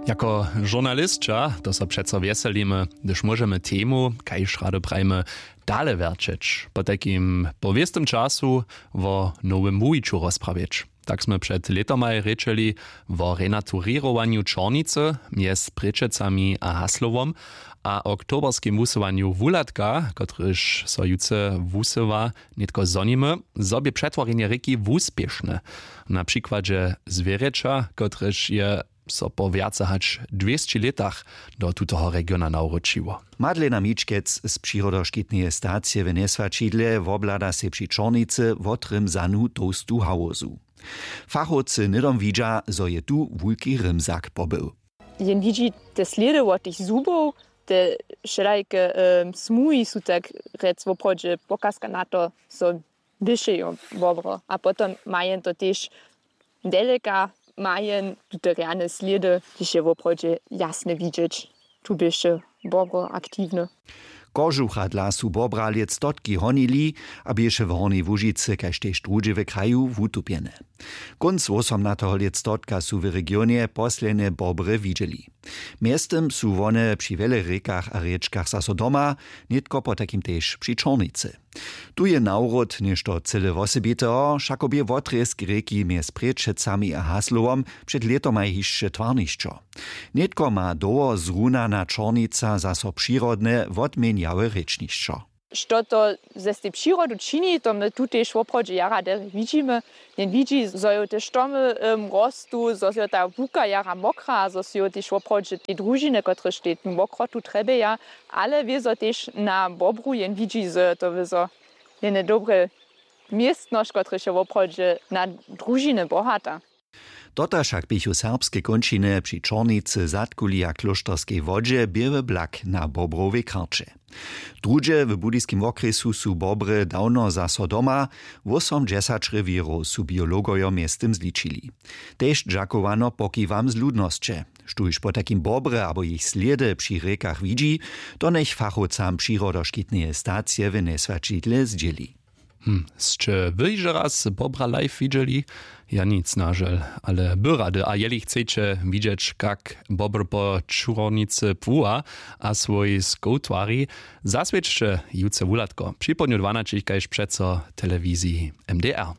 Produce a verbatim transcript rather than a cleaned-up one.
Jako žurnalisća to so přeco wjeselimy, hdyž móžemy temu, kaž rady prajimy, dale wjerćeć, potajkim po wěstym času wo nowym muwiću rozprawjeć. Tak smy před lětomaj rěčeli wo renaturěrowanju Čornicy mjez Prěčecami a Haslowom a oktoberskim wusyłanju Wuhlatka, kotryž so jutře wusyła, nětko zhonimy, zo bě přetworjenje rěki wuspěšne. Na přikładźe Zwěrjeća, kotryž je so po wjace hač dwěsći lětach do tutoho regiona nawróčiło. Madlena Mičkec z přirodoškitneje stacije w Njeswaćidle woblada sej při Čornicy wotrym zanu tołstu hałozu. Fachowcy hnydom widźa, zo je tu wulki rymzak pobył. Jen widźi te slědy wot tych zubow, te wšelajke smuhi su tak rjec woprawdźe pokazka na to, zo běše jo wobro. A potom ma jen to tež deleka, ma jen tute rjane slědy, kiž je woprawdźe jasne widźeć, tu běše wobro aktiwne. Kožucha dla su bobra lětstotki honili a běše w Hornjej Łužicy kaž tež druhdźe w kraju wutupjene. Kónc wósomnateho lětstotka su w regionje poslednje bobry widźeli. Mjeztym su wone při wjele rěkach a rěčkach zaso doma, nětko potajkim tež při Čornicy. Tu je nawrót něšto cyle wosebiteho, wšako bě wotrězk rěki mjez Prěčecami a Haslowom před lětomaj hišće twarnišćo. Nětko ma dołho zrunana Čornica zaso přirodne wotměnjałe rěčnišćo. Što to ze stej přirodu čini, to my tu tež woprawdźe jara derje widźimy. Jen widźi, zo jo te štomy rostu, zo jo ta łuka jara mokra, zo su jo tež woprawdźe te družiny, kotrež te mokrotu trjebjeja, ale wězo tež na bobru jen widźi, zo jo to wězo jene dobre městnosć, kotrež je woprawdźe na družiny bohata. Dotal wšak běchu serbske kónčiny při Čornicy, Zadkuli a Klóšterskej wodźe běły blak na bobrowej karće. Druhdźe w budyskim wokrjesu su bobry dawno zaso doma, wósomdźesać rewěrow su biologojo mjeztym zličili. Tež dźakowano pokiwam z ludnosće. Štóž potajkim bobry abo jich slědy při rěkach widźi, to njech fachowcam přirodoškitneje stacije w Njeswaćidle zdźěli. Hm, sće wy hižo raz bobra live widźeli? Ja nic, na žel, ale by rady. A jeli chceće widźeć, kak bobr po Čurnicy płuwa a swój skow twari, zaswědčće jutře wuhladko připołdnju dwanaćich kaž přeco telewiziji M D R.